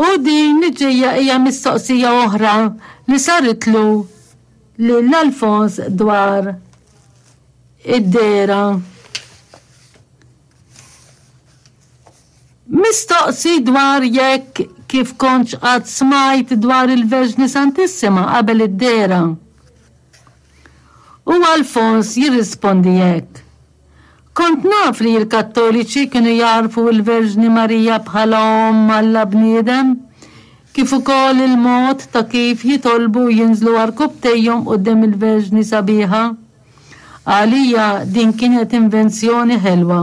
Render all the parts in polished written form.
U din li ġejja hija mistoqsija oħra li saritlu lil Alfons dwar id-dehra. Mistoqsi dwar jekk kif kontx qatt smajt dwar il-Verġni Santissima qabel id-dehra. U Alfons jirrispondi hekk, Kont naf li l-Kattoliċi kienu jagħrfu l-Verġni Marija bħala Omm Alla Bniedem, kif ukoll il-mod ta' kif jitolbu u jinżlu għarkupptejhom quddiem il-Verġni Sabiħa. Għalija din kienet invenzjoni ħelwa.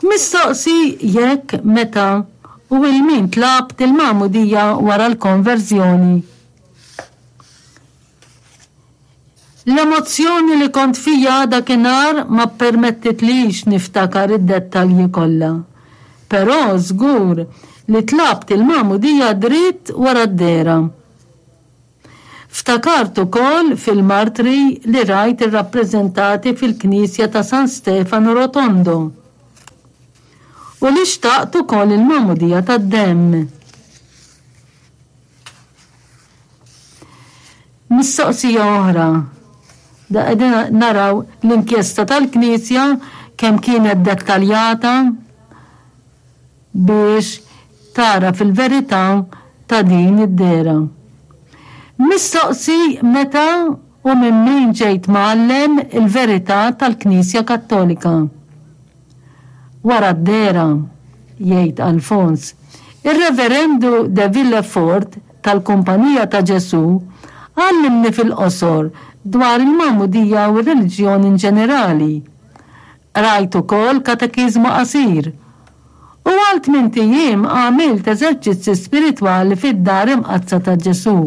Mistoqsi jekk, meta u 'il min tlabt il-magħmudija wara l-konverżjoni. L-emozzjoni li kont fija dakinhar ma ppermettitlix niftakar id-dettalji kollha. Però żgur li tlabt il-magħmudija dritt wara d-dehra. Ftakart ukoll fil-martri li rajt irrappreżentati fil-knisja ta' San Stefano Rotondo u li xtaqt ukoll il-magħmudija tad-demm. Mistoqsija oħra. Da qegħdin naraw l-inkjesta tal-Knisja kemm kienet dettaljata biex tagħraf il-verità ta' din id-dehra. Mistoqsi meta u minn min ġejt mgħallem il-verità tal-Knisja Kattolika. Wara d-dehra, jgħid Alfons, ir-Reverendu de Villefort tal-Kumpanija ta' Ġesù għallimni fil-qosor dwar il-magħmudija u r-reliġjon inġenerali. Qrajt ukoll katekiżmu qasir. U għal tmint ijiem għamilt eżerċizzi spiritwali fid-Dar Imqaddsa ta' Ġesù.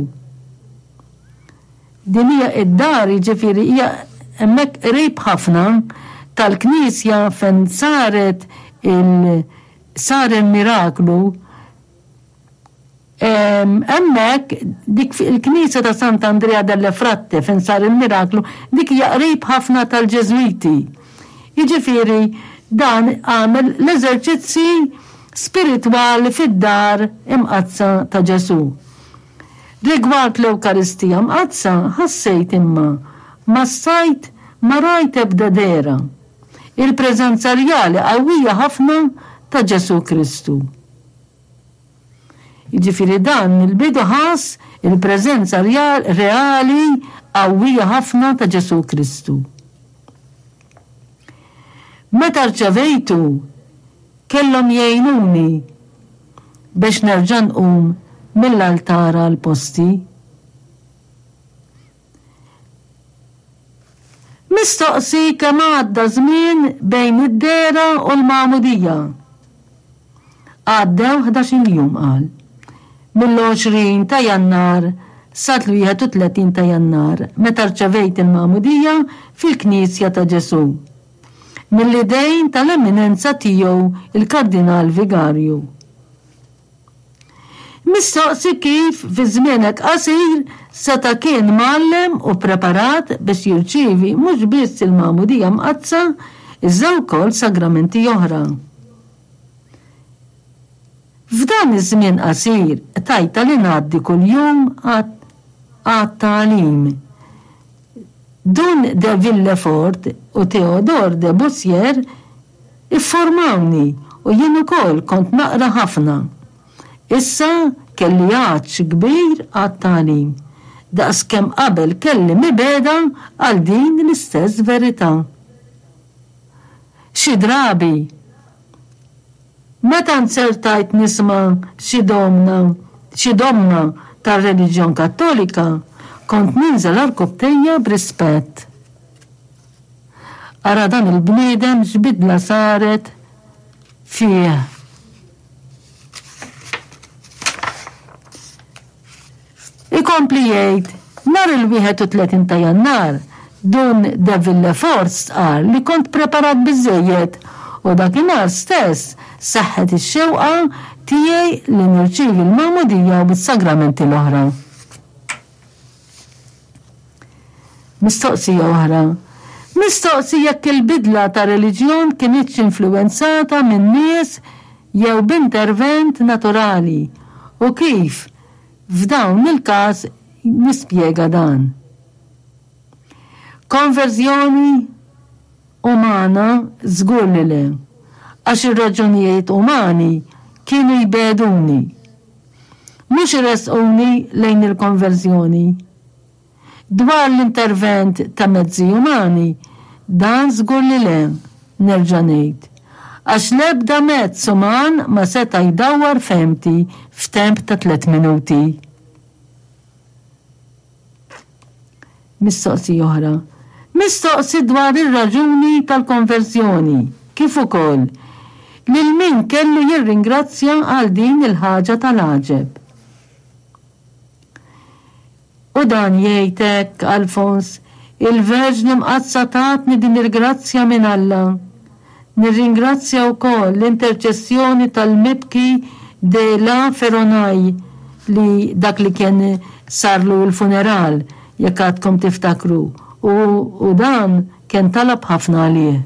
Din hija id-dar, jiġifieri hija hemmhekk qrib ħafna tal-knisja fejn saret il sar il-miraklu. Hemmhekk dik il-knisja ta' Sant'Andrea delle Fratte fejn sar il-miraklu, dik hija qrib ħafna tal-Ġeżwiti. Jiġifieri dan għamel l-eżerċizzi spiritwali fid-dar imqaddsa ta' Ġesù. Rigward l-Ewkaristija Mqaddsa ħassejt imma ma stajt ma rajt ebda dehra. Il-preżenza rjali qawwija ħafna ta' Ġesù Kristu. Jiġifieri dan mill-bidu ħass il-preżenza reali qawwija ħafna ta' Ġesù Kristu. Meta rċevejtu, kellhom jgħinuni biex nerġa' nqum mill-altar għal posti. Mistoqsi kemm għadda żmien bejn id-dehra u l-magħmudija. Għaddew ħdax-il jum, qal. Mill-20 ta' Jannar sal-31 ta' Jannar, meta rċevejt il-magħmudija fil-Knisja ta' Ġesù. Mill-idejn tal-Eminenza Tiegħu il-Kardinal Vigarju. Mistoqsi kif fi żmien hekk qasir seta' kien mgħallem u ppreparat biex jirċievi mhux biss il-Magħmudija Mqaddsa iżda wkoll sagramenti oħra. F'dan iż-żmien qasir qtajtha li ngħaddi kuljum għat-tagħlim. Dun de Villefort u Théodore de Bussière ifformawni u jien ukoll kont naqra ħafna. Issa kelli għatx kbir għat-tagħlim, daqs kemm qabel kelli mibegħda għal din l-istess verità. Xi drabi, Meta nzertajt nisma' xi domna, xi domma tar-reliġjon Kattolika, kont ninżel għarkupptejja b'rispett. Ara dan il-bniedem x'bidla saret fih. Ikompli jgħid, Nhar il-31 ta' Jannar, Dun de Villefort stqarr li kont preparat biżżejjed u dakinhar stess seħħet ix-xewqa tiegħi li nirċievi l-Magħmudija u s-sagramenti l-oħra. Mistoqsija oħra, Mistoqsi jekk il-bidla ta' reliġjon kinitx influwenzata minn nies. jew b'intervent naturali u kif f'dawn il-każ nispjega dan. Konverżjoni umana żgur li le, għax ir-raġunijiet umani kienu jbegħduni. Mhux iressquni lejn il-konverżjoni. Dwar l-intervent ta' mezzi umani, dan żgur li le, nerġa' ngħid. Għax l-ebda mezz uman ma seta' jdawwar fehmti f'temp ta' tlett minuti. Mistoqsija oħra. Mistoqsi dwar ir-raġuni tal-konverżjoni, kif ukoll lil min kellu jirringrazzja għal din il-ħaġa tal-għaġeb. U dan jgħid hekk Alfons, Il-Verġni Mqaddsa tatni din il-grazzja minn Alla. Nirringrazzja wkoll l-interċessjoni tal-mibki de la Feronay li dak li kien sarlu l-funeral, jekk għadkom tiftakru, u u dan kien talab ħafna għalih.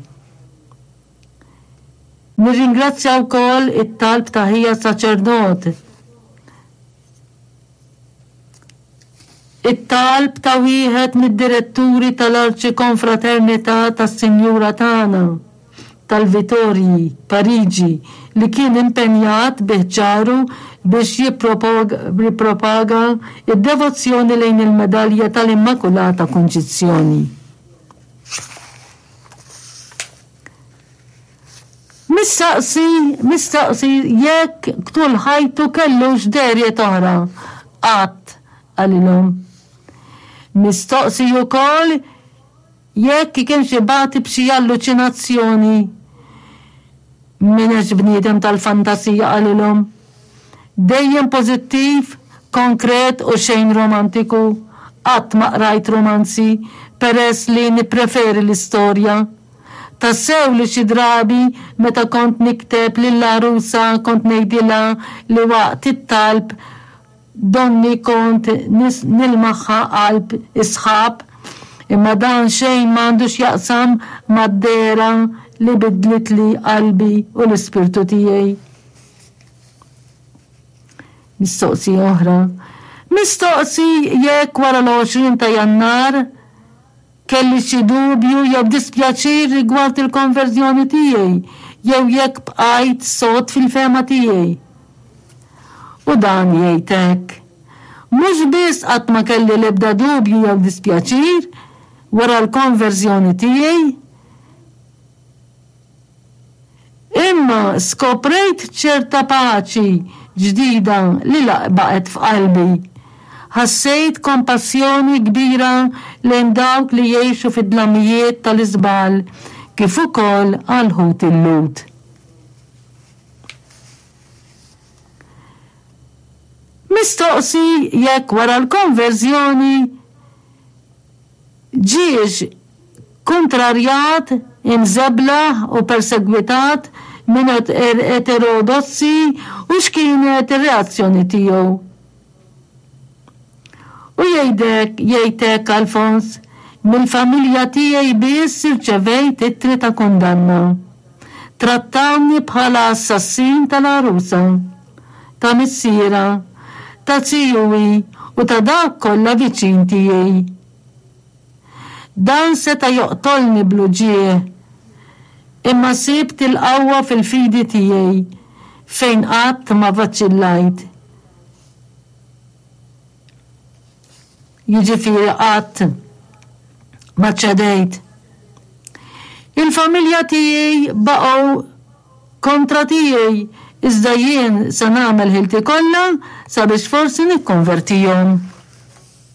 Nirringrazzja wkoll it-talb ta' ħija saċerdot, It-talb ta' wieħed mid-diretturi tal-Arċikonfraternità tas-Sinjura Tagħna tal-Vitorji, Pariġi, li kien impenjat bi ħġaru biex jippropaga d-devozzjoni lejn il-Medalja tal-Immakulata Kunċizzjoni. Mistaqsi, mistaqsi jekk tul ħajtu kellux dehriet oħra. Qatt, qalilhom. Mistoqsi ukoll jekk kienx ibati b'xi alluċinazzjoni. M'inex bniedem tal-fantasija, qalilhom. Dejjem pożittiv, konkret u xejn romantiku. Qatt ma qrajt romanzi peress li nippreferi l-istorja. Tassew li xi drabi meta kont nikteb lill-għarusa kont ngħidilha li waqt it-talb donni kont nilmaħha qalb is-sħab, imma dan xejn m'għandu x'jaqsam mad-dehra li bidlitli qalbi u l-ispirtu tiegħi. Mistoqsija oħra. Mistoqsi jekk wara l-20 ta' Jannar Kelli xi dubju jew dispjaċir rigward il-konverżjoni tiegħi jew jekk bqajt sod fil-fehma tiegħi? U dan jgħid hekk, Mhux biss qatt ma kelli l-ebda dubju jew dispjaċir wara l-konverżjoni tiegħi, Imma skoprejt ċerta paċi ġdida li baqgħet f'qalbi. Ħassejt kompassjoni kbira lejn dawk li jgħixu fid-dlamijiet tal-iżball kif ukoll għal ħuti l-Lhud. Mistoqsi jekk wara l-konverżjoni ġiex kuntrarjat, imżeblaħ u persegwitat minn eterodossi u x'kienet ir-reazzjoni tiegħu. U jgħidek, jgħid hekk Alfons, Mill-familja tiegħi biss irċevejt ittri ta' kundanna. Trattawni bħala assassin tal-għarusa, ta' missierha, ta' zijuwi u ta' dawk kollha viċin tiegħi. Dan seta' joqtolni bl-uġigħ, imma sibt il-qawwa fil-fidi tiegħi fejn qatt ma vaċċillajt. Jiġifieri qatt ma ċedejt. Il-familja tiegħi baqgħu kontra tiegħi, iżda jien se nagħmel ħilti kollha sabiex forsi nikkonvertihom.